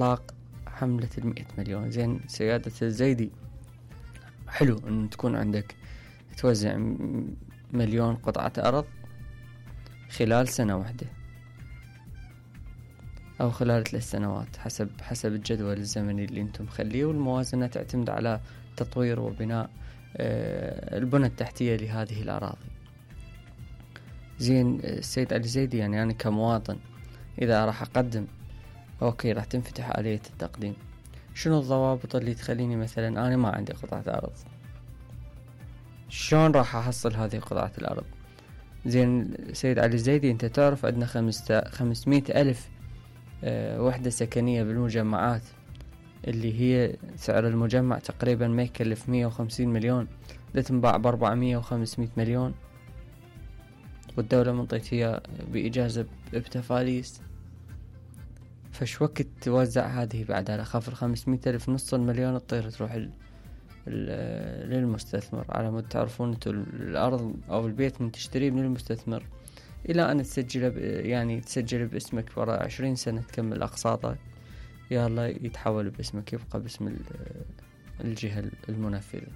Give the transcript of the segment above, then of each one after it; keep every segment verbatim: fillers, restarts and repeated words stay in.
إطلاق حملة المئة مليون. زين سيادة الزيدي، حلو أن تكون عندك توزع مليون قطعة أرض خلال سنة واحدة أو خلال ثلاث سنوات حسب حسب الجدول الزمني اللي أنتم مخليه، والموازنة تعتمد على تطوير وبناء البنى التحتية لهذه الأراضي. زين السيد علي الزيدي، يعني أنا كمواطن إذا راح أقدم، أوكي راح تنفتح آلية التقديم، شنو الضوابط اللي تخليني مثلا أنا ما عندي قطعة أرض؟ شلون راح أحصل هذه قطعة الأرض؟ زين السيد علي الزيدي، أنت تعرف عندنا خمسمائة ألف أه وحدة سكنية بالمجمعات، اللي هي سعر المجمع تقريبا ما يكلف مية وخمسين مليون، ده تنباع بأربعمية وخمسمائة مليون، والدولة منطيتها بإجازة بتفاليس. فش وقت توزع هذه بعد على خفر خمسمائة ألف؟ نص المليون تطير تروح ال ال للمستثمر. على ما تعرفون انتو الأرض أو البيت من تشتريه من المستثمر إلى أن تسجل يعني تسجل باسمك وراء عشرين سنة تكمل أقساطك، يلا يتحول باسمك، يبقى باسم الجهة المنفذة.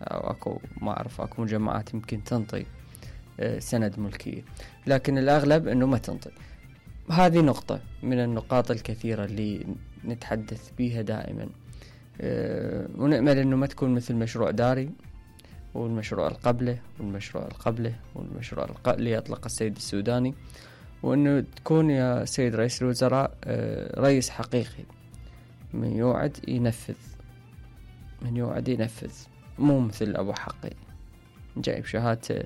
أو أكو ما أعرف أكو مجمعات يمكن تنطي سند ملكية، لكن الأغلب أنه ما تنطي. هذه نقطة من النقاط الكثيرة اللي نتحدث بيها دائما، أه ونأمل أنه ما تكون مثل مشروع داري والمشروع القبله والمشروع القبله والمشروع اللي أطلق السيد السوداني، وأنه تكون يا سيد رئيس الوزراء أه رئيس حقيقي، من يوعد ينفذ، من يوعد ينفذ، مو مثل أبو حقي جايب شهادة